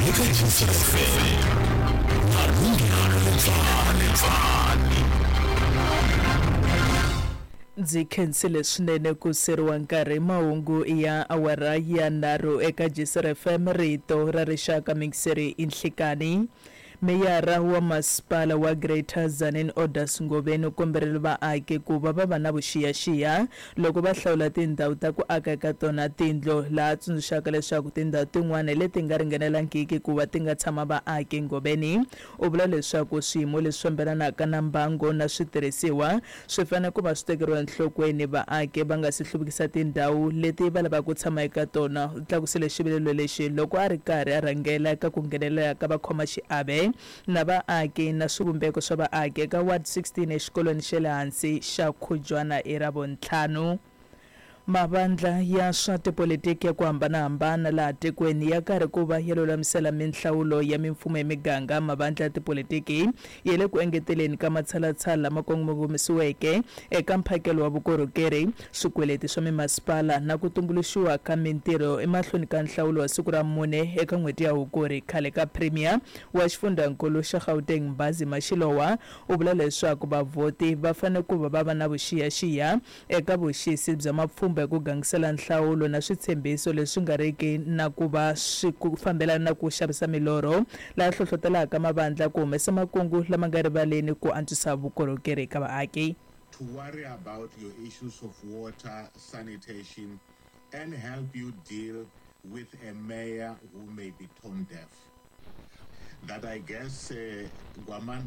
Eka GCFM Malunghana Letsani. Ndzi khensile swinene ku seriwa nkarhi mahungu ya awara ya nharhu eka GCFM rito ra rixaka mixeri i nhlikani. Meyara wa masipala wa Greater Tzaneen Odas Ngobeni u komberile vaaki ku va va va na vuxiyaxiya loko va hlawula tindhawu ta ku aka eka tona tindlu, laha a tsundzuxaka leswaku tindhawu tin'wana leti nga ringanelangiki ku va ti nga tshama vaaki. Ngobeni u vula leswaku swiyimo leswi fambelanaka na mbango na switirhisiwa swi fanele ku va swi tekeriwa enhlokweni vaaki va nga si hluvukisa tindhawu leti va lavaka ku tshama eka tona. U tlakusile xivilelo lexi loko a ri karhi a rhangela eka ku nghenelela ka vakhomaxiave na vaaki na swivumbeko swa vaaki eka Ward 16 exikolweni xa le hansi xa Khujwana hi Ravuntlhanu. Mavandla ya swa tipolitiki ya ku hambana-hambana laha tikweni ya karhi ku va ya lulamisela minhlawulo ya mimfumo ya miganga. Mavandla ya tipolitiki ya le ku engeteleni ka matshalatshala lama kongomisiweke eka mphakelo wa vukorhokeri, swikweleti swa mimasipala na ku tumbuluxiwa ka mintirho emahlweni ka nhlawulo wa siku ra mune eka n'hweti ya Hukuri. Khale ka Premier wa xifundhankulu xa Gauteng Mbhazima Shilowa u vula leswaku vavhoti va fanele ku va va va na vuxiyaxiya eka vuxisi bya mapfhumba ya ku gangisela nhlawulo na switshembiso leswi nga riki na ku va swi fambelana na ku xavisa milorho, laha hlohlotelaka mavandla ku humesa makungu lama nga rivaleni ku antswisa vukorhokeri eka vaaki. To worry about your issues of water, sanitation and help you deal with a mayor who may be tone deaf. That I guess Gwamanda